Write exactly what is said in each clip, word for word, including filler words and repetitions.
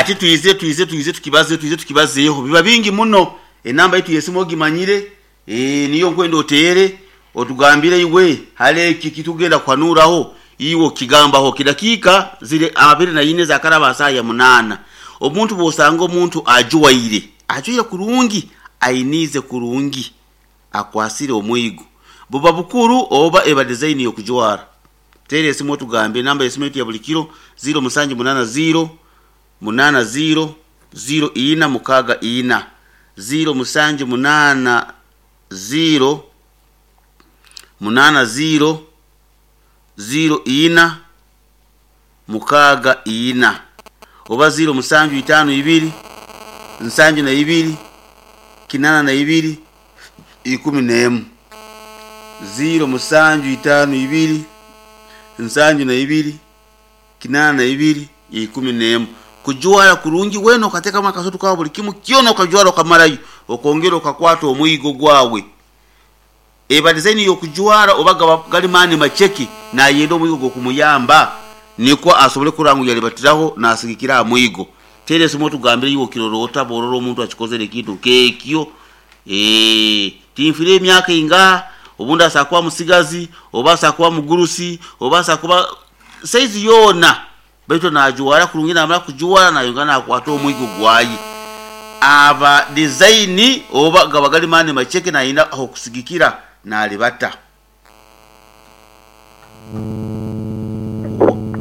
Ati twize twize twize tukibaze twize tukibazeeho, biba bingi muno. Enamba yitu yesimu ogimanyire, eh, niyo nkwenda oteere otugambire iwe hali eki kitugenda kuhanuraho, iwe okigambaho. Kidakiika ziri abiri na ine zakaraba saa ya munaana. Omuntu bwosanga omuntu ajwaire ajwaire kurungi, ainize kurungi, akwasire omwigo, buba bukuru oba eba design yokujwara. Teera esimu otugambe. Enamba yesimu yetu ya buli kiro ziro musanju munana ziro munana ziro ziro ina mukaga ina, ziro musanju munana ziro munana ziro ziro ina mukaga ina, oba ziro musanju itano ibiri nsanju na ibiri kinana na ibiri ikumi n'emu, ziro musanju itano ibiri nsanju na ibiri kinana na ibiri ikumi n'emu. Kujwara kurungi wena okateekamu akasutu kawe buli kimu kyona okajwara okamarayo, okongera okakwata omwigo gwawe, eba design yokujwara oba gaba gali maani macheki, nayenda omwigo gwokumuyamba nikwo asobole kurora ngu yalibatiraho nasigikira aha mwigo. Teera esimu otugambire iwe okirora ota bworora omuntu akikozere ekintu nk'ekyo. Eh, tinfire emyaka ingaha, obundi asobola kuba musigazi oba asobola kuba mugurusi oba asobola kuba saizi yoona, baitu najwara kurungi, namara kujwara nayongera nakwata omwigo gwaye, aba design oba gaba gali maani macheke, nayenda ahokusigikira nalibata.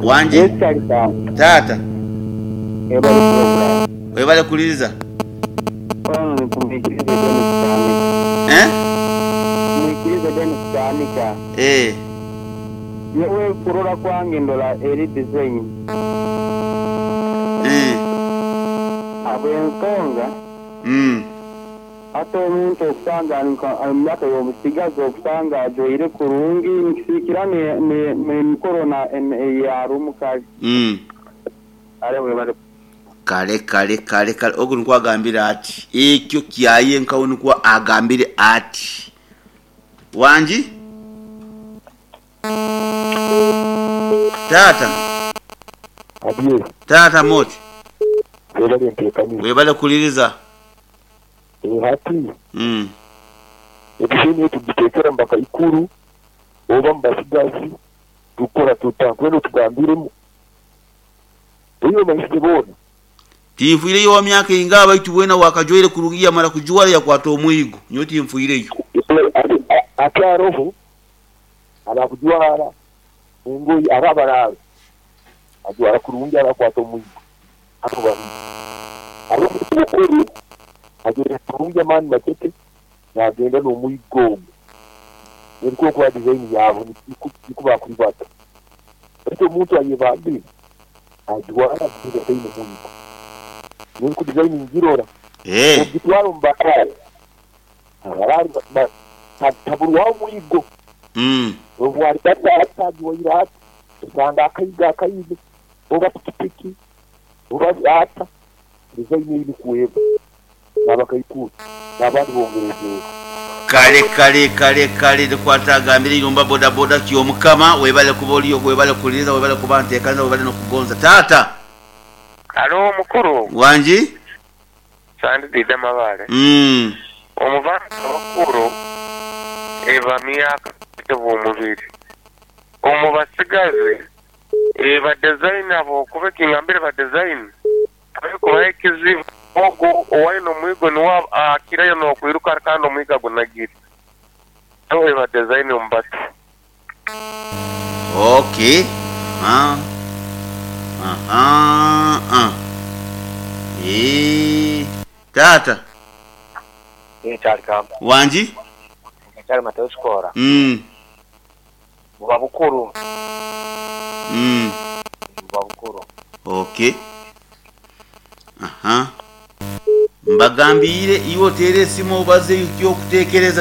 Wanje. Yes, Charika. Tata. Ebale program. Webale kuliriza. Ono ni kumwikiriza Dennis Chanika. Eh? Mwikiriza Dennis Chanika. Eh. Yewe kurora kwange ndola eri design. Eh. Abw'ensonga Mm. ate omuntu okusanga ali nka- ali mu myaka y'obusigazi okusanga ajwaire kurungi nikisikira n'emikoro eyari omukazi. Mm. Ale webale. Kale kale kale kale, ogu nikwo agambire ati ekyo kyaye nkawe, nikwo agambire ati wangi tata. Abye. Tata moti. Webale nteekaniza. Webale kuliriza. Hati mm. ebiseni tugiteekera mu bakaikuru oba mu basigazi, tukora tuta kwenda otugambiremu eyo maisire boona. Tinfuireyo wa myaka ingaha, baitu wena wakajwaire kurungi, yamara kujwara yakwata omwigo, nyowe tinfuireyo. Ate aroho abakujwara engoyi aba abaraabe ajwara kurungi abakwata omwigo, abo babiri abo ajwara kurungi amaani makeke nagenda n'omwigo ogwo, eriko kuba design yaabo niku bakuribata, baitu omuntu ayebambire ajwara kurungi ataine mwigo, ninku design ngirora. Eh. Ogitwara omu baraari, abaraari taburwaho omwigo. Mm. Obwaribataatagiwaire ati osanga akaiga akaine oba pikipiki oba ata design eri kuweba n'abakaikuru n'abandi bongerezeeho. Kale kale kale kale, nikwata agambire irumba boda boda kyomukama. Webale kuba oliyo, webale kuliriza, webale kuba nteekaniza, webale n'okugonza tata. Alo mukuru. Wangi. Sandidide Mabale. Mm. Omuvanga abakuru eba myaka bw'omubiri omu basigazi eba design abo kuba ekingambire ba design kubaho ekizibu ogu owaine omwigo niwe akirayo n'okwiruka kandi omwigo agunagire, so eba design omu bato. Okay. Ah. Aha. Ah. Eh. Tata. Eh, Charika. Wangi. Kyali Mateo Kikora. Mm. Buba bukuru. Mm. Buba bukuru. Okay. Aha. Mbagambire iwe oteere esimu obaze ekyokuteekereza.